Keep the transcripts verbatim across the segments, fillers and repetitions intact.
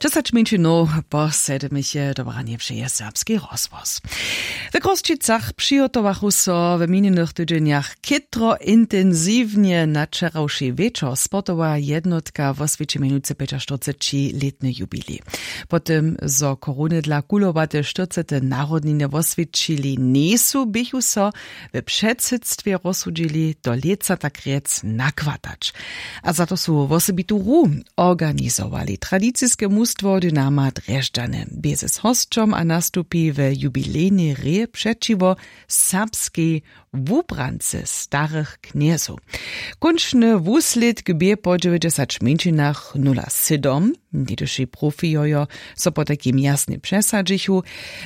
Česać mjeńšinow po sedmich je dobranje přeje serbski rozhłos. W Chrósćicach přihotowachu so w minjenych tydźenjach chětro intensiwnje. Na wčerawši wječor sportowa jednotka woswjeći mjenucy pjećaštyrceći lětny jubilej. Po tym zo korony dla kulowate štyrcete narodniny woswjećili njejsu, běchu so w předsydstwje rozsudźili do lětsa tak rjec nakwatać. A za to su wosebitu hru organizowali. Tradiciske mustwo Dynama Drježdźany bě z hosćom a nastupi w jubilejnej hrě přećiwo serbskej wubrance starych knjezow. Kónčny wuslědk bě po dźewjećdźesać mjeńšinach nula sydom. Něhdyši profijojo so potajkim jasnje přesadźichu.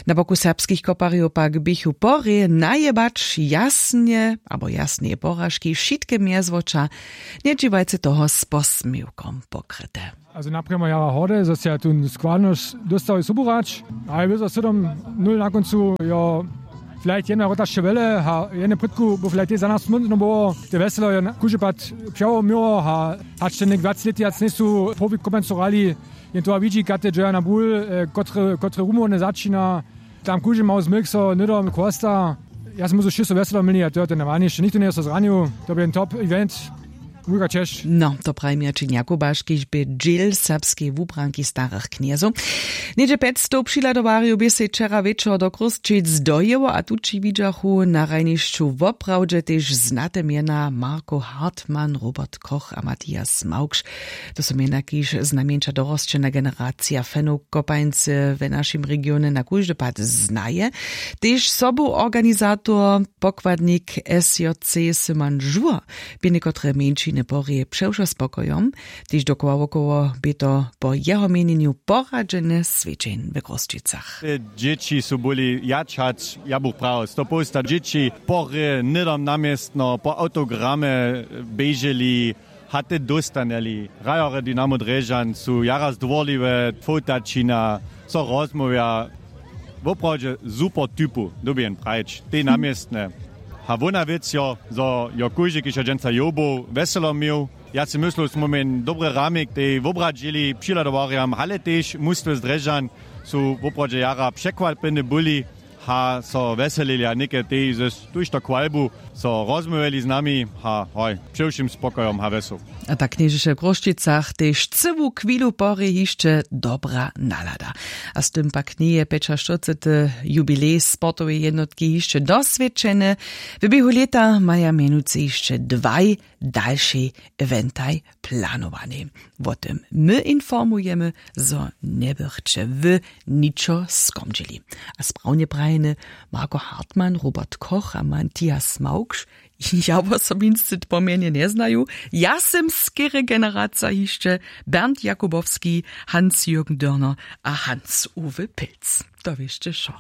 Na boku serbskich koparjow pak běchu porje najebać jasnje abo jasneje poražki wšitke mjezwoća. Njedźiwajce toho z posměwkom pokryte. Also naprjemo jara horde, zo se ja tu składno dóstał suburać, ale wězo sydom nul na kóncu jo. Vielleicht jedna rotašće wjele a jedne prědku bo vielleicht za nas smutno było, te wjeselo je kóždy pad přełomiło a hač te něk wjac lěty wjac njejsu profi komencu rali. Jen to widźi kate dźeja na bul, kotre rumownje začina. Tam kóždy mało zmylk so hnydom chłosta. Ja sym móžu wšěsto wjeselo měli a to je to najwalniše, nichtó njeje so zranił. To bě jen top event. Wulka česć. No, to praji mjačin jakubaš kiž bě dźěl serbskeje wubranki starych knjezow. Něhdźe pjećstow přihladowarjow bě sej wčera wječor do chrósćic dojěło a tući widźachu na hrajnišću woprawdźe tež znate mjena marko hartmann robert koch a matthias małkš. To su mjena kiž znajmjeńša dorosćena generacija fanow kopańcy w našim regionje na kóždy pad znaje. Tež sobu organizator pokładnik sjc syman žur bě někotre mjeńšiny porje přewšo spokojom. Tež dokoła wokoło bě to po jeho měnjenju poradźene swědźeń w chrósćicach. Dźěći su byli jadź hač ja bych prawo sto połsta dźěći porje hnydom na městno po awtogramy běželi. Haty dóstanjeli hrajerjo dynamo drježdźan su jara zdwórliwe fowtaćina, so rozmołwja. Woprawdźe super typu dyrbi jen prajić tej na městnje. A wona wěc jo zo jo kóždy kiž jo dźensa jow był wjeselo měł. Ja sej myslu smómy jen dobry ramik tej wobradźili přihladowarjam hale tež mustwy z drježdźan su woprawdźe jara překwapjeni byli. A so wjeselili a něke tej z tuž to chwalbu so rozmołwjeli z nami. A hoj, přewšěm spokojom a wjesoł. A tak knježeše w chrósćicach tež cyłu chwilu porje hišće dobra nalada. A z tym pak njeje pjećaštyrcety jubilej sportoweje jednotki hišće doswědčeny. W běhu lěta maja mjenujcy hišće dwaj dalšej eventaj planowanej. Wo tym my informujemy, zo njebychće wy ničo skomdźili. A sprawnje prajeny marko hartmann robert koch a matthias małkš. Ja wosobinsce pomjenje njeznaju. Ja sym skerje generacija hišće bernd jakubowski, hans jürgen dörner a hans uwe pilc. To wěsće wšo.